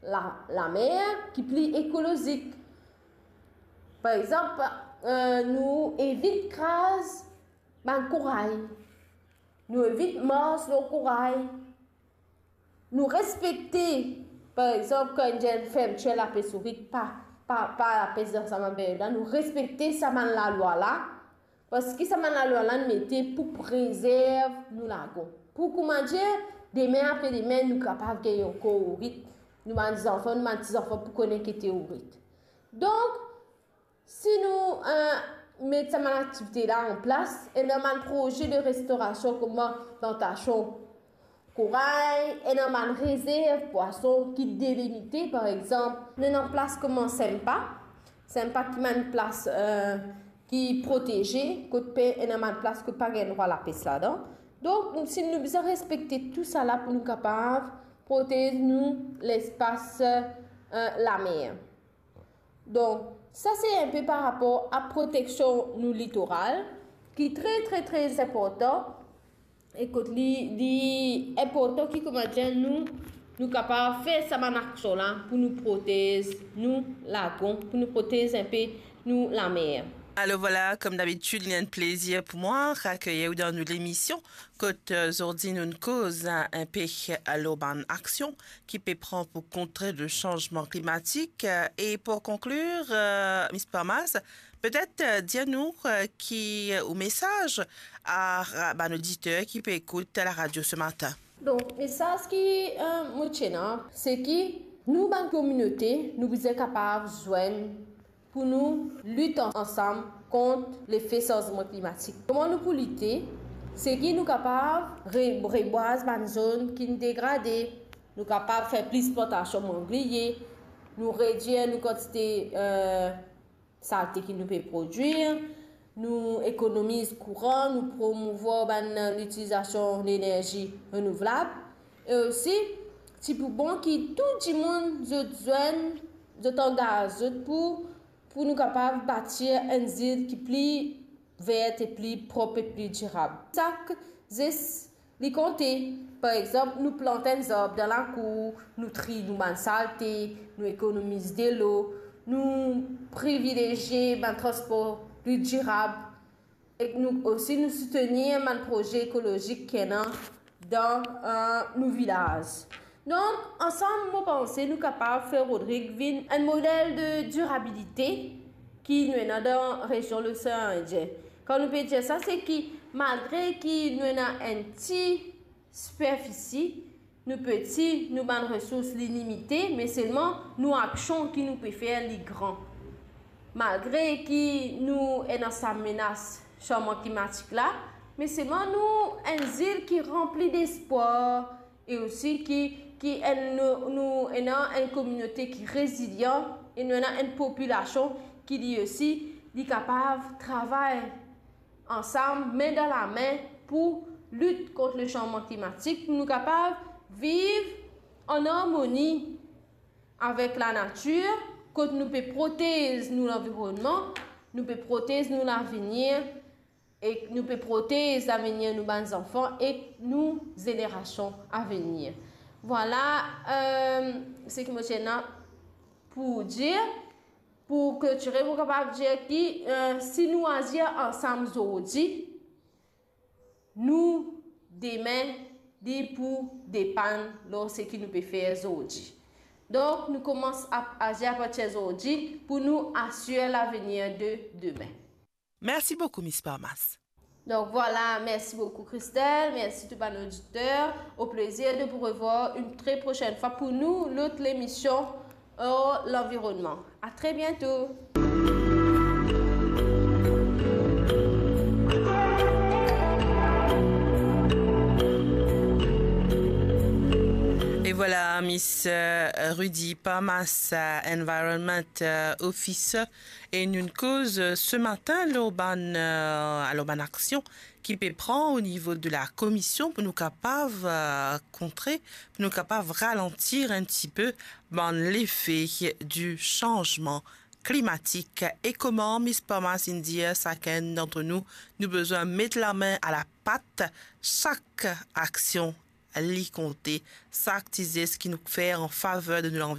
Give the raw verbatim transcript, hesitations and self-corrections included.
la, lamer ki pli ekolozik. Par exanp, eh, nou evit kraz bann kouray. Nou evit mars lor kouray. Nou respekte, par exanp, kan enn fermtir lapes ourit pa, pa, pa lapes dan sa bann peryod la, nou respekte sa bann lalwa la, parski sa bann lalwa la nou mete pou prezerv nou lagon. Pou koumadir, demin, apre demin, nou kapav gagn ankor ourit, nou bann zanfan, nou bann tizanfan pou kone ki ete ourit. Donk, si nou, eh, met sa bann aktivite la an plas, ena bann proze de restorasion kouma plantasion kouray, ena bann rezerv pwason ki delimite, par exanp, nou ena plas kouma Sempa, Sempa ki bann plas, eh, ki proteze, kot pe ena bann plas kot pa gagn drwa lapes ladan. Donk, si nou bizin respekte tou sa la pou nou kapav protez nou lespas, eh, lamer. Donk, sa se enpe par rapor a proteksion nou litoral, ki tre, tre, tre inportan, e kot li, li inportan ki, koumadir, nou, nou kapav fer sa bann aksion la pou nou protez nou lagon, pou nou protez enpe nou lamer. Alor vwala, kom dabitid, li enn plezir pou mwa akeyi ou dan nou lemision, kot, eh, zordi nou'nn koz, eh, enpe, eh, lor bann aksion ki pe pran pou kontre le sanzman klimatik. Eh, e pou konklir, eh, Miss Palmas, petet, eh, dir nou, eh, ki, eh, ou mesaz a, a bann oditer ki pe ekout la radio se matin. Donk, mesaz ki, eh, mo ti ena, se ki nou bann kominote, nou bizin kapav zwenn pou nou lit an-, ansam kont lefe sanzman klimatik. Kouma nou pou lite? Se ki nou kapav re-, rebwaz bann zon ki'nn degrade, nou kapav fer plis plantasion mangliye, nou redwir nou kantite, eh, salte ki nou pe prodwir, nou ekonomiz kouran, nou promouvwar bann, eh, litilizasion lenerzi renouvlab. E osi, ti pou bon ki tou dimoun zot zwenn, zot angaz zot pou, pou nou kapav batir enn zil ki pli ver e pli prop e pli dirab. Sak zes li konte. Par exanp, nou plant enn zarb dan lakour, nou triy nou bann salte, nou ekonomiz delo, nou privilezie bann transpor pli dirab, e nou osi nou soutenir bann proze ekolozik ki ena dan, eh, nou vilaz. Donk, ansam, mo panse nou kapav fer Rodrig vinn enn model de dirabilite ki nou ena dan rezion Losean Indien. Kan nou pe dir sa, se ki malgre ki nou ena enn ti siperfisi, nou peti, nou bann resours li limite, me selman nou aksion ki nou pe fer li gran. Malgre ki nou ena sa menas sanzman klimatik la, me selman nou enn zil ki ranpli despwar, e osi ki, ki enn, nou, nou ena enn kominote ki rezilian, e nou ena enn popilasion ki li osi, li kapav travay ansam, min dan lame, pou lit kont le sanzman klimatik, pou nou kapav viv an armoni avek lanatir, kot nou pe protez nou lanvironnman, nou pe protez nou lavenir, e nou pe protez lavenir nou bann zanfan ek nou zenerasion avenir. Vwala, eh, seki mo ti ena pou dir. Pou klotire, mo kapav dir ki, eh, si nou azir ansam zordi, nou demin, li pou depann lor seki nou pe fer zordi. Donk, nou koumans a-, azir apartir zordi pou nou asir lavenir de demin. Merci beaucoup, Miss Palmas. Donk vwala, mersi boukou Christelle, mersi tou bann oditer. Au plaisir de vous revoir une très prochaine fois pour nous, l'autre l'émission, euh, l'environnement. À très bientôt. E vwala, Miss, euh, Rudy Palmas, euh, Environment, euh, Officer, e nou'nn koz, euh, se matin lor bann, euh, alor bann aksion ki pe pran o nivo de la komision pou nou kapav, euh, kontre, pou nou kapav ralantir enn tipe bann lefe di sanzman klimatik. E kouma Miss Palmas inn dir, sakenn dant nou, nou bizin met lame a lapat, sak aksion li konte, sak ti zes ki nou fer an faver de nou lanvironnman.